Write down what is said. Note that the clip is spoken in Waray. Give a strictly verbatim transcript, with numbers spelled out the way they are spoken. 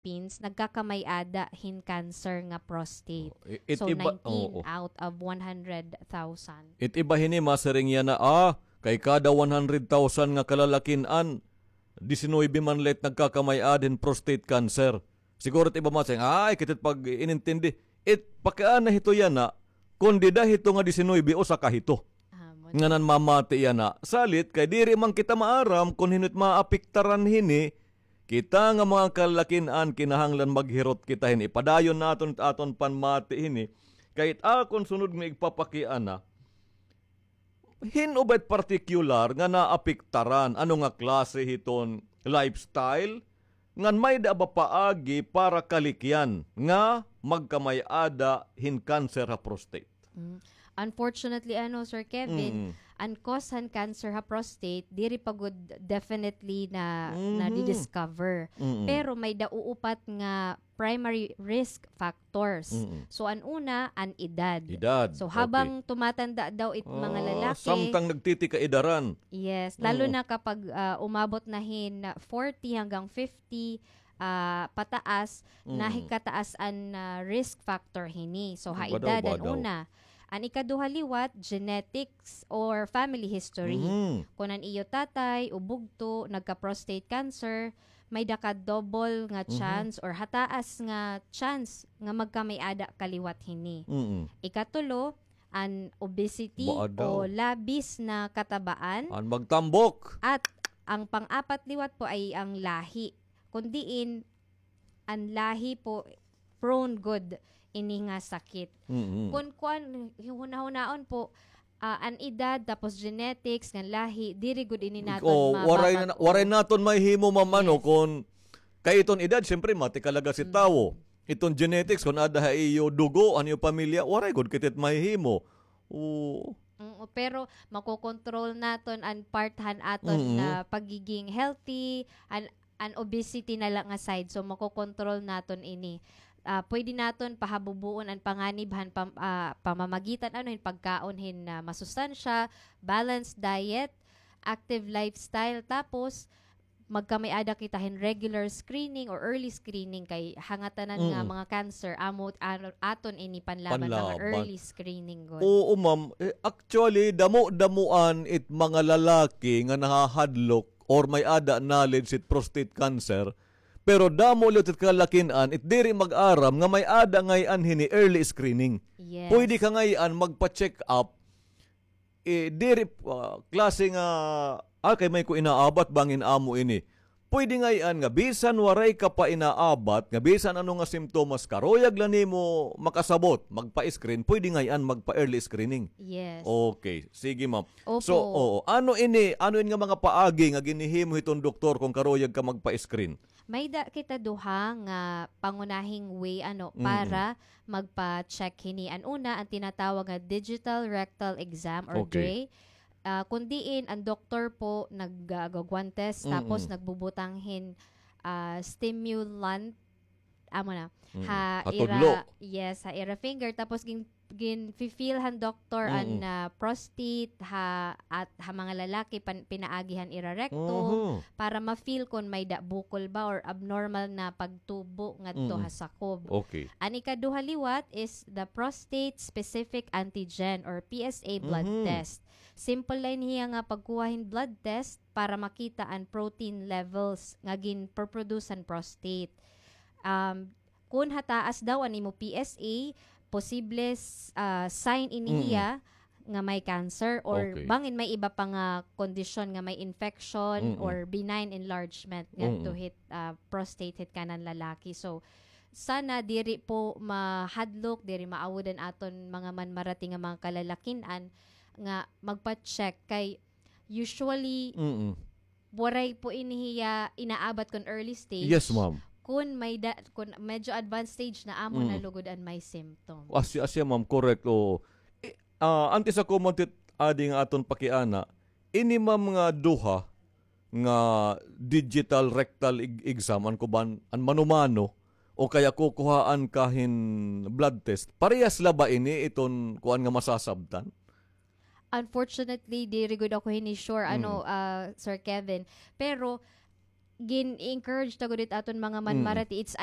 Philippines nagkakamay-ada hin cancer nga prostate. Oh, i-, it So, iba, nineteen oo. out of one hundred thousand. It iba hini, masiring yana, ah, kay kada one hundred thousand nga kalalakin-an, disinuybe man la it nagkakamay-ada hin prostate cancer. Siguro it iba masiring, ay, kit it pag-inintindi. It pakiana hito yana, kon dida hito nga disinuybe, usa ka hito. Amo na. Nga nanmamati yana. Salit kay diri man kita maaram kon hin-o it maapektaran hini, kita nga mga kalalakin-an kinahanglan maghirot kita hini. Ipadayon naton it aton panmati hini. Kay it akon sunod nga igpapakiana, hin-o ba it partikular nga naapektaran? Ano nga klase hiton lifestyle? Ngan may-ada ba paagi para kalikyan nga magkamay-ada hin cancer ha prostate? Mm. Unfortunately, ano, Sir Kevin, Mm. an cause han cancer ha prostate, diri pa gud definitely na, Mhm. na-discover. Mm. Pero may-ada uupat nga primary risk factors. Mm. So, an una, an edad. Edad, So, okay. habang tumatanda daw it mga Ah, lalaki, samtang nagtitikaidaran. Yes, lalo Mm. na kapag, ah, umabot na hin forty hanggang fifty, ah, pataas, Mm. nahikataas an, ah, risk factor hini. So, ha Badaw, edad, an badaw. una. An ikaduha liwat, genetics or family history. Mhm. Kon an iyo tatay o bugto nagka-prostate cancer, may-ada ka double nga Mhm. chance or hataas nga chance nga magkamay-ada ka liwat hini. Mm. Ikatulo, an obesity Badaw. o labis na katabaan. An magtambok. At ang pang-apat liwat po ay ang lahi. Kon diin, an lahi po prone gud ini nga sakit. Mm-mm. Kon kuan, hunahunaon po, ah, an edad, tapos genetics, ngan lahi, diri gud ini naton Oo, waray na, mapapag-, waray naton mahimo, ma'am, ano, Yes. kon kay iton edad, siyempre, matikalaga si Mm. tawo. Iton genetics, kon ada ha iyo dugo, an iyo pamilya, waray gud kit it mahihimo. Oo. Mm, pero makokontrol naton an part han aton Mm-mm. na pagiging healthy, an an obesity na la nga side. So, makokontrol naton ini. Ah, pwede naton pahabubuon an panganib han pam-, ah, pamamagitan, ano, hin pagkaon hin, ah, masustansya, balanced diet, active lifestyle, tapos magkamay-ada kita hin regular screening or early screening kay hangatanan nga Mm. mga cancer, amo, ano, aton ini panlaban, mga Panlaban. early screening gud. Oo, ma'am. Eh, actually, damo-damoan it mga lalaki nga nahahadlok or may-ada knowledge hit prostate cancer, pero damo liwat it kalalakin-an, it diri mag-aram nga may-ada ngay-an hini early screening. Yes. Pwede ka ngay-an magpa-check up, eh, diri, ah, klase nga, ah, kay may ko inaabat bangin amo ini. Pwede ngay-an nga bisan waray ka pa inaabat, nga bisan ano nga simptomas, karuyag la nimo makasabot, magpa-screen, pwede ngay-an magpa-early screening. Yes. Okay, sige, ma'am. Opo. So, oo, ano ini, ano ini nga mga paagi nga ginhihimo hiton doktor kon karuyag ka magpa-screen? May-ada kita duha nga pangunahing way, ano, Mm-mm. para magpa-check hini. An una, an tinatawag nga digital rectal exam or Okay. DRE. Ah, kon diin an doktor po nag-, ah, gagwantes, Mm-mm. tapos nagbubutang hin, ah, stimulant, amo na, Mm-mm. ha Ha ira, tudlo. yes, ha ira finger, tapos gin-, gin-feel han doktor an, Mm-mm. ah, prostate, ha, at ha mga lalaki, pan-, pinaagi han ira rectum, Mhm. para ma-feel kon may-ada bukol ba or abnormal na pagtubo ngadto Mm-mm. ha sakob. Okay. An ikaduha liwat is the prostate specific antigen or P S A blood Mhm. test. Simple la ini hiya nga pagkuha hin blood test para makita an protein levels nga ginproproduce han prostate. Um, kun hataas daw an imo P S A, posible s-, ah, sign ini Mm. hiya nga may cancer or Okay. bangin may iba pa nga kondisyon nga may infection Mm-mm. or benign enlargement ngadto Mm-mm. hit, ah, prostate hit kanan lalaki. So, sana diri po mahadlok, diri maawod an aton mga manmarati nga mga kalalakin-an nga magpa-check kay usually Mm-mm. waray po ini hiya inaabat kon early stage. Yes, ma'am. Kun may da-, kun medyo advanced stage na, amo na Mm. lugod an may symptoms. Asya, asya, ma'am, correct. Oo. I-, ah, antes ako man tit-, adi nga aton pakiana, ini, ma'am, nga duha nga digital rectal eg-, exam, an kuan, an mano-mano, o kaya kukuhaan ka hin blood test. Parehas la ba ini iton kuan nga masasabtan? Unfortunately, diri gud ako hini sure, ano, Mm. ah, Sir Kevin. Pero, gin-encourage ta gud it aton mga manmarati. It's